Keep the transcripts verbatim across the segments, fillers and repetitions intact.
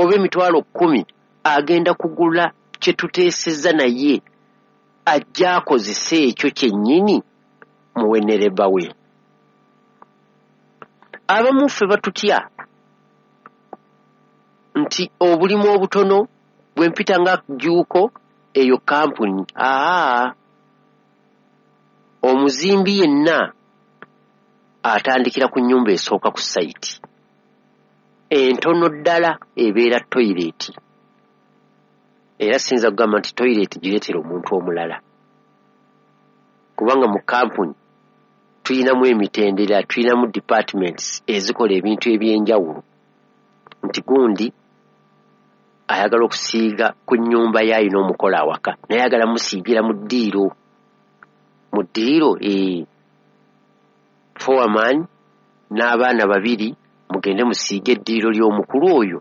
oba emitwalo kkumi agenda kugula kye tuteesezza, naye ajja akozese ekyo kyennyini muwenereba we. Abamu ffe batutya nti obulimu obutono bwe mpita nga Jjuuko eyo kampuni. Aa, omuzimbi yenna atandikira ku nnyumba esooka ku site entono ddala ebeera toilet. Era siyinza kugamba nti toilet gireetera omuntu omulala, kubanga mu kampuni tuyinamu emitendera, tuyinamu departments ezikola ebintu ebyenjawulo, nti gundi ayagala okusiiga ku nnyumba ye, ayina omukola awaka naye ayagala musiigira mu ddiiro mu ddiiro ee foreman n'abaana babiri mugende musiige eddiiro ly'omukulu oyo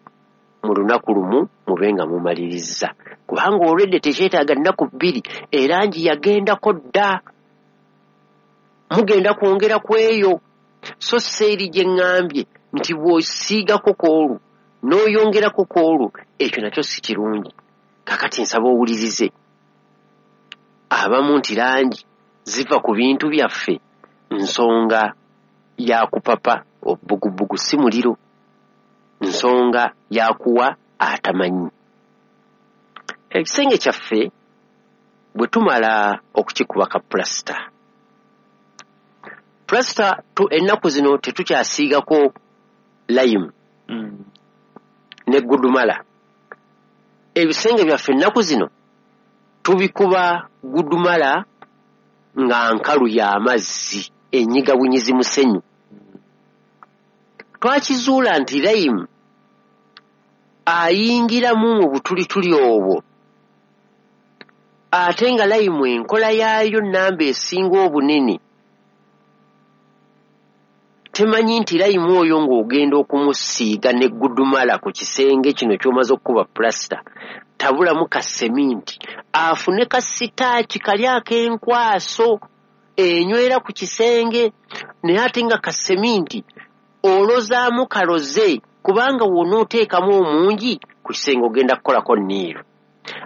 mu lunaku lumu mube nga mumalirizza, kubanga olwedde tekyetaaga nnaku bbiri, erangi yagendako dda, mugenda kwongera ku eyo. So seeri gye ŋŋambye nti bw'osiigako kw'olwo n'oyongerako kw'olwo, ekyo nakyo si kirungi. Kakati nsaba owulirize abamu nti langi ziva ku bintu byaffe nsonga ya kupapa obugubugu, si muliro, nsonga ya kuwa atamanyi. Ekisenge kyaffe bwe tumala okukikuba ka pulasita, pulasita ennaku zino tetukyasiigako lime Mm. ne gudumala. Ebisenge byaffe ennaku zino tubikuba gudumala nga nkalu y'amazzi, enyiga bunyizi musenyu. Twakizuula nti lime ayingiramu mu butulituli obwo, ate nga lime enkola yaayo namba esinga obunene temanyi nti lime oyo ng'ogenda okumusiiga ne gudumala ku kisenge kino ky'omaze okukuba pulasita, tabulamu ka seminti afune ka sitaaki kali ak'enkwaso enywera ku kisenge, naye ate nga ka seminti olozaamu kaloze, kubanga w'onooteekamu omungi ku kisenge ogenda kukolako nniiru,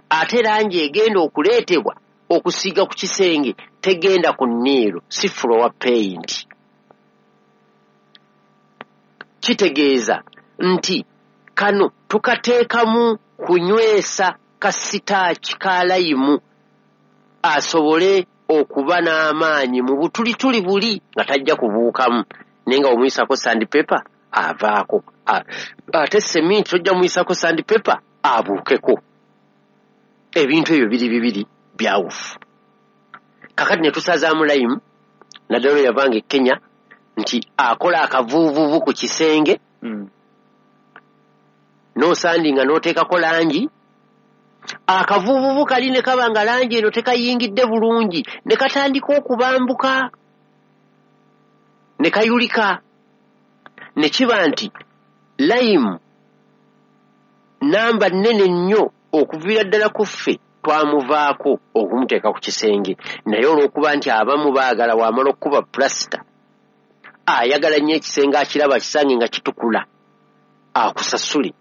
ate langi egenda okuleetebwa okusiiga ku kisenge tegenda ku nniiru, si floor paint. Kitegeeza nti kano tukateekamu kunywesa ka sitaaki ka lime asobole okuba n'amaanyi mu butulituli buli nga tajja kubuukamu, naye nga omuyisako sandpaper avaako, ate seminti tojja muyisako sandpaper abuukeko. Ebintu ebyo biri bibiri byawufu. Kakati ne tusazaamu lime, naddala oyo yavanga e Kenya nti akola akavuuvuvu ku kisenge Mm. n'osandinga n'oteekako langi, akavuuvuvu kali ne kaba nga langi eno tekayingidde bulungi, ne katandika okubambuka ne kayulika, ne kiba nti lime namba nnene nnyo okuviira ddala ku ffe twamuvaako okumuteeka ku kisenge. Naye olw'okuba nti abamu baagala wamala okukuba pulasita ayagala nnyo ekisenge akiraba kisange nga kitukula, akusasule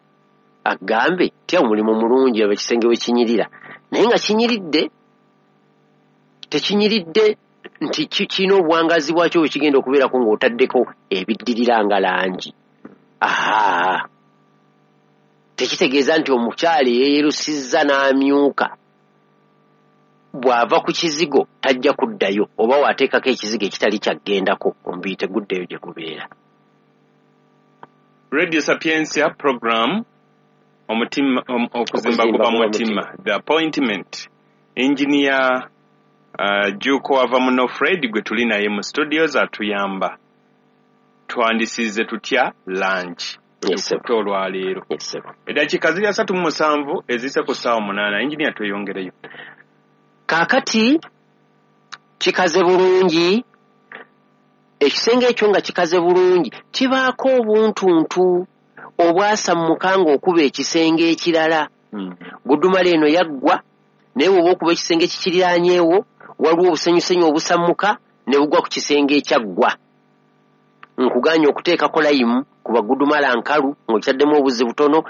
agambe tya omulimu mulungi aba ekisenge we kinyirira, naye nga kinyiridde tekinyiridde nti kirina obuwangazi bwakyo bwe kigenda okubeerako ng'otaddeko ebiddirira nga langi. Aha, tekitegeeza nti omukyala eyeeyerusizza n'amyuka bw'ava ku kizigo tajja kuddayo, oba waateekako ekizigo ekitali kyaggendako omubiri teguddayo gye gubeera. Radio Sapientia program omutima om, okuzimba guba mutima, The Appointment. Engineer uh, Juko wava muno Fred gwe tuli naye mu studios atuyamba. Twandisize tutya lunch Yes, sir. olwaleero? Yes, sir. Eddakiika ziri asatu mu musanvu ezise ku ssaawa munaana. Engineer, tweyongereyo. Kaakati kikaze bulungi ekisenge ekyo, nga kikaze bulungi kibaako obuntuntu obwasammuka ng'okuba ekisenge ekirala. Mm. Gudumala eno yaggwa, naye bw'oba okuba ekisenge ekikiriranyeewo waliwo obusenyusenyu obusammuka ne bugwa ku kisenge ekyaggwa. Nkuganye okuteekako lime kuba gudumala nkalu ng'okitaddemu obuzzi butono.